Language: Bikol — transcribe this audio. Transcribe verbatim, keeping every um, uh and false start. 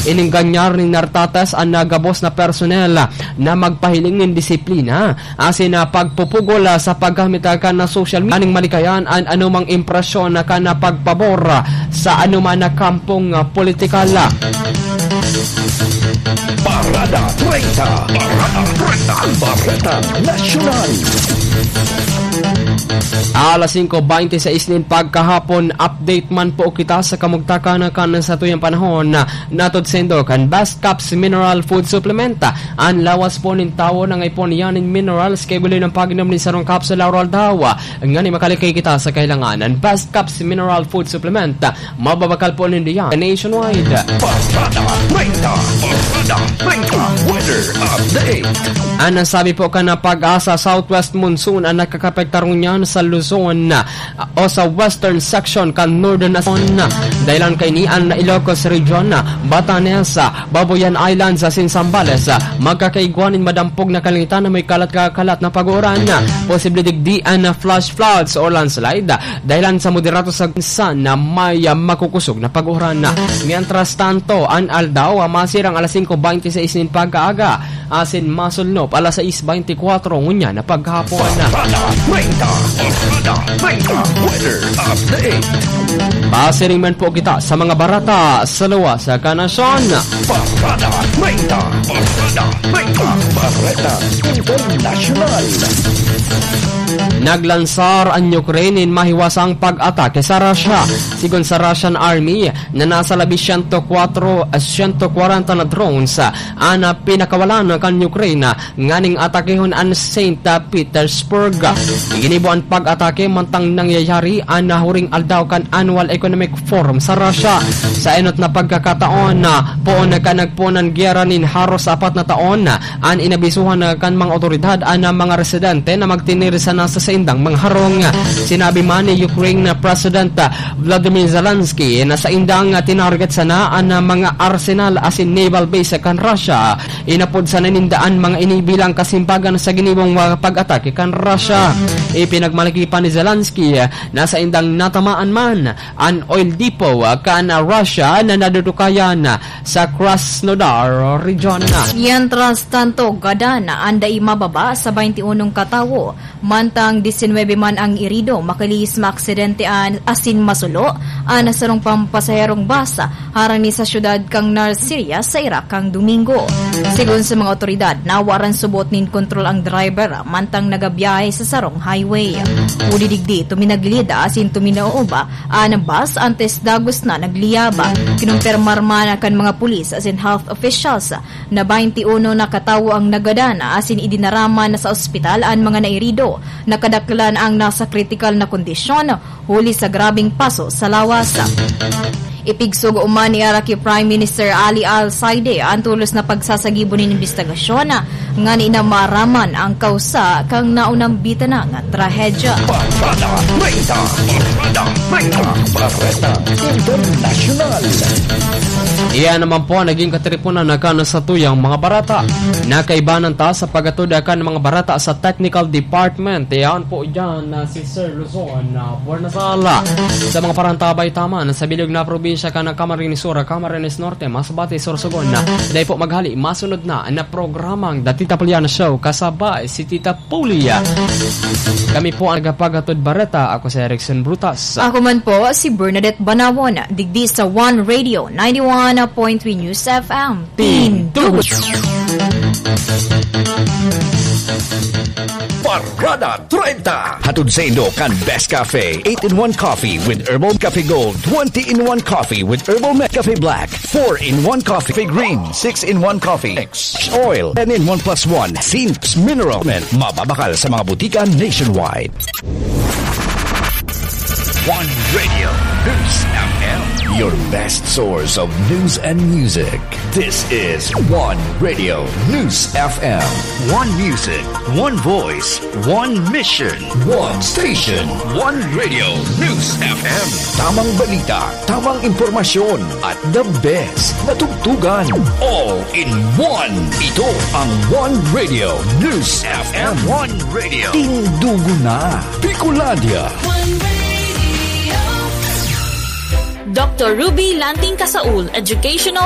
Ining ganyan nin nartatas an nagabos na personnel na magpahiling nin disiplina asin na pagpupugol sa paggamit kan na social media. Aning malikayan an anumang impresyon na kan na pagpabor sa anuman na kampong politikal. Parada treinta. Parada treinta. Bareta Nasyonal. Alas singko beinti sais nin pagkahapon, update man po kita sa kamugtakan kan satuyang panahon. Natod saindo kan Best Caps Mineral Food Supplement. An lawas po nin tawo nangaipo niya nin minerals kaiba nin pag-inom nin sarong capsule aroaldaw. Ngani makalikay kita sa kahilangan. An Best Caps Mineral Food Supplement, mababakal po nindo yan nationwide. Parada treinta. Parada treinta. Weather update. An nasabi po kan PAGASA, southwest monsoon an nakakapektar ngunyan sa Luzon o sa western section kan Northern Luzon. Dahilan kaini an Ilocos Region, Batanes, Babuyan Islands asin Zambales. Magkakaigwa nin madampog na kalangitan na may kalat-kalat na pag-uuran. Posible digdi an flash floods o landslide dahilan sa moderado sa ginsan na may, ah, makukusog na pag-uuran. Mientras tanto, an aldaw, ah, masirang alas singko beinti sais nin pagkaaga, asin masulnop alas sais beinti kwatro ngunyan na paghapon. Parada treinta, Parada treinta, weather update. Pasiring man po kita sa mga barata sa luwas sa kanasyon. Parada treinta, Parada treinta, Bareta Internasyonal. Naglansar an Ukraine nin mahiwasang pag-atake sa Russia. Sigon sa Russian Army, na nasa labi siyento kwatro, siyento kwarenta na drones, ah, an, ah, pinakawalan kan Ukraine, ah, nganing atakehon an Saint Petersburg. Iginibo an pag-atake mantang nangyayari an, ah, huring aldaw kan Annual Economic Forum sa Russia. Sa enot na pagkakataon, ah, poon na kan nagpoon an giyera nin haros apat na taon, ah, an inabisuhan na kan mga otoridad an mga residente na magtinir sana sa saindang mga harong. Sinabi man ni Ukraine na President Vladimir Zelensky na saindang tinarget sana an mga arsenal asin naval base kan Russia. Inapod sana ninda an mga ini bilang kasimbagan sa ginibong mga pag-atake kan Russia. Ipinagmalaki pa ni Zelensky na saindang natamaan man an oil depot kan Russia na nadudukayan sa Krasnodar region. Mientras tanto, gadan an dai mababa sa baynti unong katawo, mantang disinwebe man ang irido makalihis maaksidente an asin masulo an sarong pampasaherong bus harani sa syudad kan Nasiriyah sa Iraq kan Domingo. Sigon sa mga otoridad, nawaran subot nin kontrol ang driver mantang nagabiyahe sa sarong highway. Huli digdi, tuminagilid asin tuminaob an bus antes dagos na nagliyab. Kinumpirmar man kan mga pulis asin health officials na baynti uno na katawo ang nagadan asin idinara man sa ospital an mga nairido. Nakadaklan ang nasa kritikal na kondisyon huli sa grabeng paso sa lawas. Ipigsugo man ni Iraqi Prime Minister Ali Al-Saideh an tolos na pagsasagibo nin imbestigasyon ngani na maaraman ang kausa kan naunang bitanang trahedya. Parada treinta, Parada treinta, Bareta Internasyonal. Iyan naman po naging katiripunan na kan satuyang mga barata. Nakaibanan ta sa paghatod kan mga barata sa technical department. Iyan po dyan na si Sir Luzon, ah, Buenasala. Sa mga parantabay taman sa bilog na probinsya kan Camarines Sur, Camarines Norte, Masbate, Sorsogon. Dai po maghali, masunod na na programang The Tita Puliana Show, kasabay si Tita Pulia. Kami po ang nagpapaghatod bareta. Ako si Erickson Brutas. Ako man po si Bernadette Banawon, digdi sa One Radio, ninety-one point three News F M. Tindog. Parada treinta. Hatod saindo kan Best Cafe, eight-in-one Coffee with Herbal Cafe Gold, twenty-in-one Coffee with Herbal Me-, Cafe Black, four-in-one Coffee Green, six-in-one Coffee X Oil, ten-in-one plus one Zinc Mineral. Mababakal sa mga butika nationwide. One Radio News F M, your best source of news and music. This is One Radio News F M. One music, one voice, one mission. One station, One Radio News F M. Tamang balita, tamang impormasyon, at the best na tugtugan. All in one. Ito ang One Radio News F M. One Radio. Tindugo na, Bicolandia. One Radio. Doctor Ruby Lanting Casaul, Educational